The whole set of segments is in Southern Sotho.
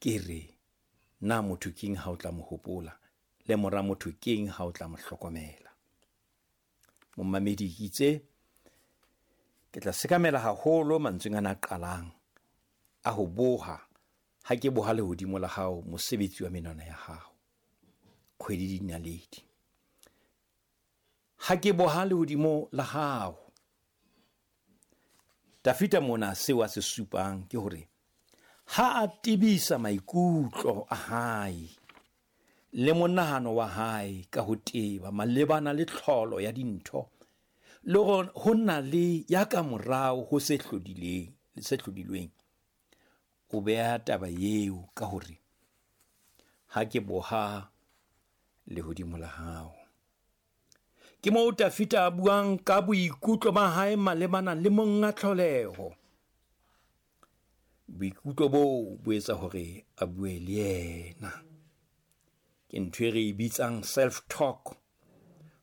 Ke re, na motho keng ha o tla mo hopola, le mora motho keng ha o tla mo hlokomela? Momamedi, ke itse ke tla sekamela haholo mantsweng ana a qalang a ho boha, ha ke boha lehodimo la hao, mosebetsi wa menwana ya hao, kgwedi le dinaledi. Ha ke boha lehodimo la hao. Dafida mona seo a se supang ke hore ha a tebisa maikutlo a hae le monahano wa hae ka ho teba malebana le tlholo ya dintho, le hore ho na le ya ka morao ho se hlodileng, se hlodilweng, o beha taba eo ka hore ha ke boha lehodimo la hao. Ke moo Dafida a buang ka boikutlo ba hae malebana le monga tlholeho. Boikutlo boo bo etsa hore a bue le yena. Ke ntho e re e bitsang self-talk,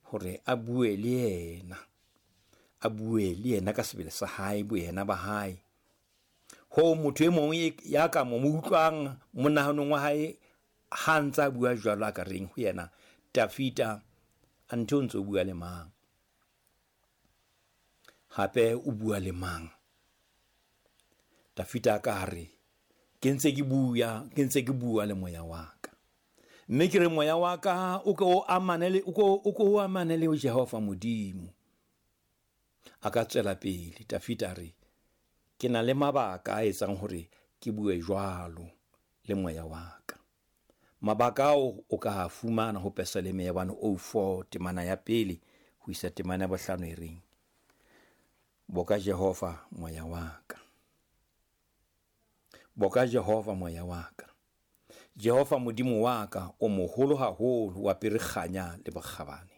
hore a bue le yena. A bue le yena ka sebele sa hae, boyena ba hae. Hoo motho e mong ya ka mo utlwang monahanong wa hae ha ntse a bua jwalo, a ka reng ho yena, Dafida, anthe o ntse o bua le mang? Hape o bua le mang? Dafida a ka re, ke ntse ke bua, ke ntse ke bua le moya wa ka. Mme ke re moya wa ka o ke o amane le, o ke o, o ke o amane le Jehova Modimo. A ka tswela pele, Dafida a re, ke na le mabaka a etsang hore ke bue jwalo le moya wa ka. Mabaka ao o ka a fumana ho Pesaleme ya 104, temana ya pele ho isa temana ya bohlano e reng, Boka Jehova moya wa ka. Boka Jehova moya wa ka. Jehova Modimo wa ka, o moholo haholo, o apere kganya le bokgabane.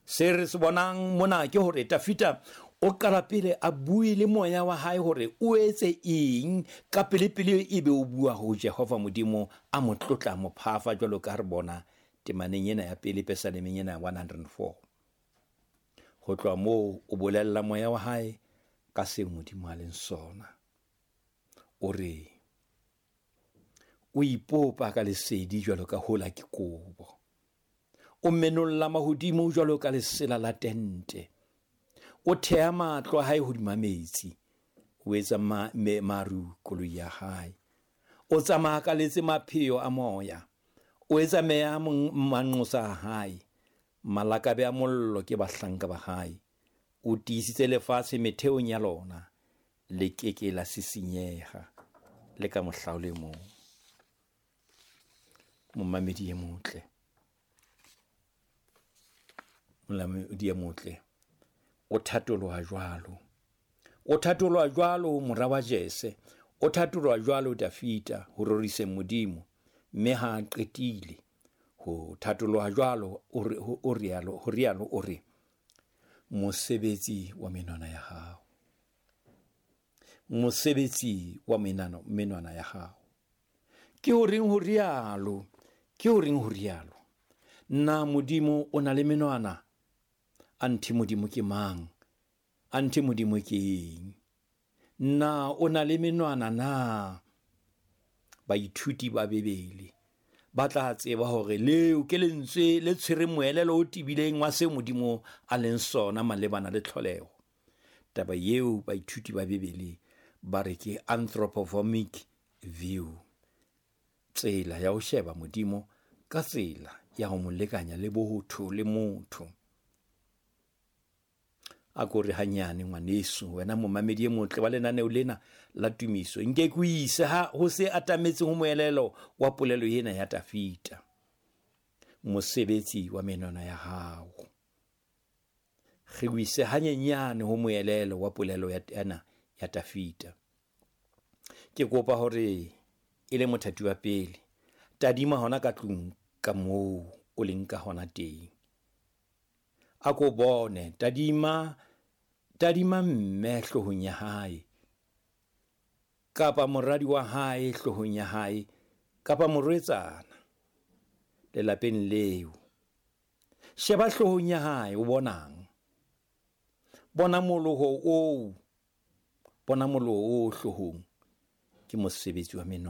Se re se bonang mona ke hore Dafida o qala pele a bue le moya wa hae hore o etse eng, ka pele pele ebe o bua ho Jehova Modimo, a mo tlotla, mo phafa, jwalo ka re bona temaneng ena ya pele, Pesalemeng ena ya 104. Ho tloha moo o bolella moya wa hae ka seo Modimo a leng sona. O re o ipopa ka lesedi jwalo ka hola ke kobo, o menolla mahodimo jwalo ka lesela la tente, o thea matlo a hae hodima metsi, o etsa maru koloi ya hae, o tsamaya ka letse mapheo a moya, o etsa meya manqosa a hae, malakabe a mollo ke bahlanka ba hae, o tiisitse lefatshe metheong ya lona, le ke ke la sisinyeha le ka mohla o le mong. Momamedi e motle, momamedi e motle, o thatoloha jwalo, o thatoloha jwalo mora wa Jese, o thatoloha jwalo Dafida ho roriseng Modimo. Mme ha a qetile ho thatoloha jwalo, o re, o rialo, ho rialo o re, mosebetsi wa menwana ya hao, mosebetsi wa menwana ya hao. Ke ho reng ho rialo? Ke ho reng ho rialo? Na Modimo o na le menwana? Anthe Modimo ke mang? Anthe Modimo ke eng? Na o na le menwana na? Baithuti ba Bibele ba tla tseba hore leo ke lentswe le tshwereng moelelo o tebileng wa seo Modimo a leng sona malebana le tlholeho. Taba eo baithuti ba Bibele ba re ke anthropomorphic view, tsela ya ho sheba Modimo ka tsela ya ho mo lekanya le botho le motho. A ko re hanyane ngwaneso, wena momamedi e motle wa lenaneo lena la tumiso, nke ke o ise ha ho se atametseng ho moelelo wa polelo ena ya Dafida, mosebetsi wa menwana ya hao. Re o ise hanyenyane ho moelelo wa polelo ena ya Dafida. Ke kopa hore e le mothati wa pele, tadima hona ka tlung ka moo o leng ka hona teng. A ko bone, tadima, tadima mme hloohong ya hae, kapa moradi wa hae hloohong ya hae, kapa morwetsana lelapeng leo. Sheba hloohong ya hae, o bonang? Bona moloho oo, bona moloho oo hloohong, ke mosebetsi wa menwana.